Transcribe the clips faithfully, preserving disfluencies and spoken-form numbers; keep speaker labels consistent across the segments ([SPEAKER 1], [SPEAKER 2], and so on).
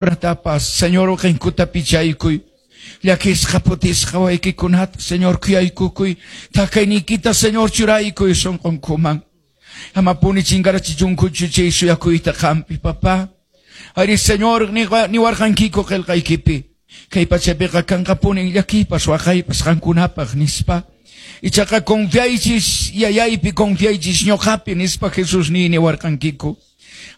[SPEAKER 1] Ratapas, Señor, uqinkuta pichaykuy. Llakisqa phutisqa waykikunata, Señor, khuyaykukuy. Thakayniykita, Señor, churaykuy sunqunkuman. Amapuni chinkarachichunkuchu chay suyakuyta qampi, papá. Ari, Señor, niwarqankiku qillqaykipi. Kay pachapiqa kanqapunin llakiypas waqaypas qankunapaq nispa. Ichaqa confiaychis yayaypi, confiaychis ñuqapi nispa Jesús ni niwarqankiku.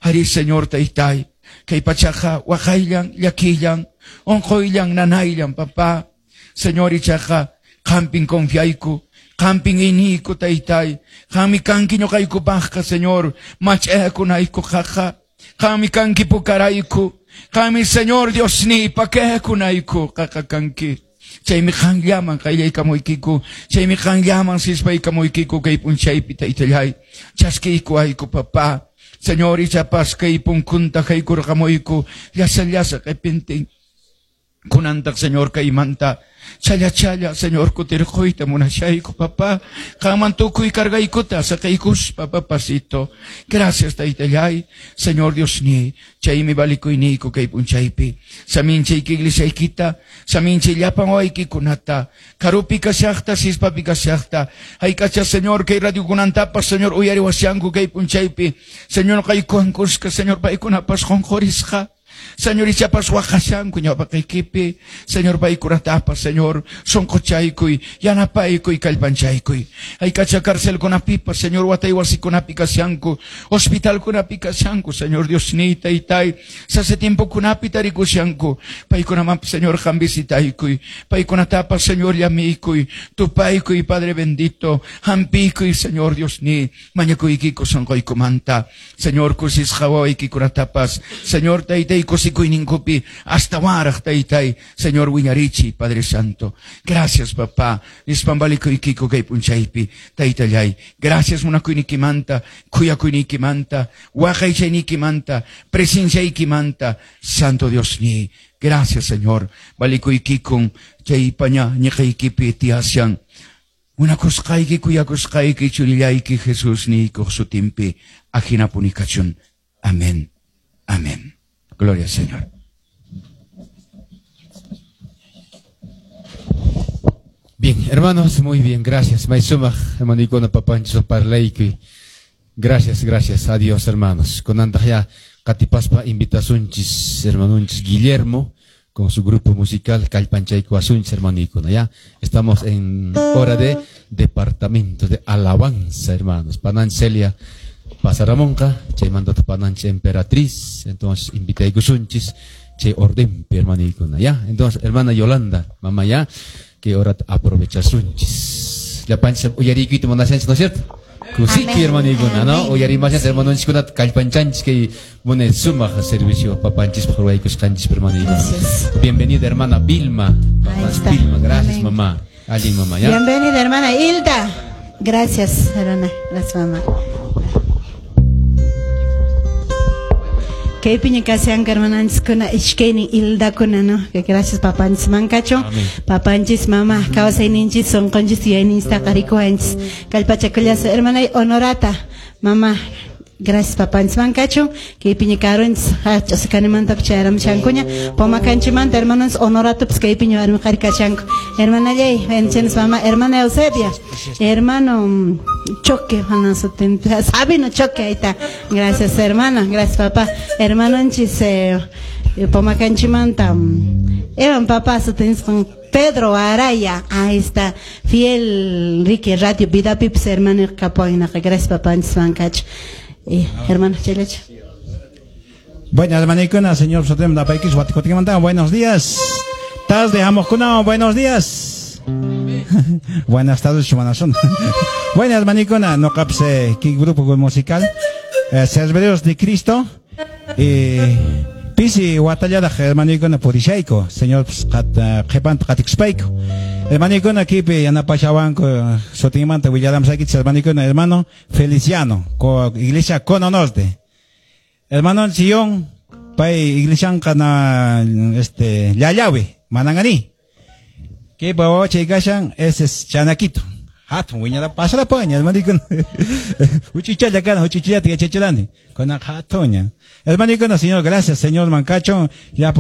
[SPEAKER 1] Ari, Señor, taytay. Kay pachaqa waqayllan, llakillan, unquyllan, nanayllan, papá. Señor, ichaqa qampin confiayku, qampin iniyku, taytay. Qammi kanki ñuqaykupaqqa, Señor, mach'akunayku qaqa. Qammi kanki pukarayku. Qammi, Señor, Dios ni pakaykunayku qaqa kanki. Chaymi qanllaman qayllaykamuykiku, chaymi qanllaman sispaykamuykiku kay p'unchaypi, taytallay. Chaskiyku ayku, papá. Señor, ichapas kay punkunta haykurqamuyku, llasa llasa q'ipintin. Kunantaq, Señor, kaymanta challa challa, Señor, kutirquyta munashayku, papá. Qanman tukuy cargaykuta saqaykuspa, papacito. Gracias, taytallay, Señor Dios ni. Chaymi valikuyniyku kay p'unchaypi. Saminchayki iglesiaykita, saminchay llapan waykikunata. Karupi kashaqta, sispapi kashaqta. Hayk'acha, Señor, kay radiokunantapas, Señor, uyariwashanku kay p'unchaypi. Señor, qaykuwan kuska, Señor, paykunapas qunqurisqa. Señor, ichapas waqashanku ñawpaqaykipi. Señor, paykunatapas, Señor, sunquchaykuy, yanapaykuy, kallpanchaykuy. Hayk'acha carcelkunapipas, Señor, watay wasikunapi kashanku, hospitalkunapi kashanku, Señor Dios ni taytay, sasa tiempokunapi tarikushanku. Paykunamanpas, Señor, qam visitaykuy. Paykunatapas, Señor, llamiykuy, tupaykuy, Padre bendito, hampiykuy, Señor Dios ni, mañakuykiku sunquykumanta. Señor, kusisqa wawaykikunatapas, Señor, taytay, kusikuyninkupi hasta waraq taytay, Señor, wiñarichi, Padre Santo. Gracias, papá. Nispan valikuykiko kay p'unchaypi, taytallay. Gracias munakuynikimanta, khuyakuynikimanta, waqaychaynikimanta, presenciaykimanta, Santo Dios ni. Gracias, Señor. Valikuykikun chay paña ñiqaykipi tiyashan. Munakusqayki, kuyakusqayki, churillayki, Jesús niykuq sutinpi, ajinapuni kachun. Amén. Amén. Gloria al Señor.
[SPEAKER 2] Bien, hermanos, muy bien, gracias. Maisumaj, hermano Icona Papancho, Parleiki. Gracias, gracias a Dios, hermanos. Con ya Catipaspa invitasunchis, hermanunchis Guillermo, con su grupo musical Calpanchaico Asunchis, hermano Icona. Ya estamos en hora de departamento de alabanza, hermanos. Panancelia Pasaramonca, chay mandata pananche emperatriz, entonces invitaykusunchis, chay ordenpi, hermanikuna, ya. Entonces, hermana Yolanda, mamá, ya, que ahora aprovechasunchis. La pancha uyarikuyta munashanchis, ¿no es cierto? Kusiki, hermanikuna, ¿no? Uyarimashanchis, hermanonchiskuna, kallpanchanchis, que mune sumaq servicio papanchis, ruwaykusqanchis, hermanikuna. Bienvenida, hermana Vilma. Mamá Vilma, gracias, amén. Mamá. Alguien, mamá, ya.
[SPEAKER 3] Bienvenida, hermana Hilda. Gracias, hermana. Gracias, mamá. Kay piña kasian hermananchiskuna ishkaynin hildakuna, no? Que gracias papanchis mankacho, papanchis mama, kawsayninchis sunqunchis yuyayninchis taqarikuwanchis. Kallpachakullasa hermana Honorata, mama, gracias papanchis mankacho, kay piña karunchis ch'usakanimanta chayaramushankuña, pomakanchimanta hermanos Honoratopas kay piña warmi qhari kashanku. Hermanallay, bendiciones mamá, hermana Eusebia, hermano Choque, Sabino Choque, ahí está. Gracias, hermana, gracias, papá. Hermanonchis, eh, Pomacanchimanta, Evan papá, con Pedro Araya, ahí está. Fiel Ricky Radio Vida Pips, hermano Capoina, gracias, papá, eh, hermano Chelecho.
[SPEAKER 4] Buenas, hermanicuna, señor Sotem Dapaikis, Guaticotimanta, buenos días. Tarde, Amojcuna, buenos días. Buenas tardes, Chumanazón. Buenas, manicona, no capse, qué grupo musical. Eh, Servidores de Cristo. Eh, Pisi, Guatallada, hermanicona, Purishaico, señor Jepant, Katixpaico. Hermanicona, Kipe, Yanapachabanco, Sotimanta, William Saquitz, hermanicona, hermano Feliciano, co, Iglesia Cono Norte. Hermano Chillón, Pai, Iglesia Cana, este, Yayawi, Mananganí. Que bawa chegashan ese es Chanaquito. Hatun wiñara pasarapaña, hermanikuna. Uchichalla kana, uchichallata yachachirani. Kuna hatuña. Hermanikuna, Señor, gracias, Señor Mancacho. Ya.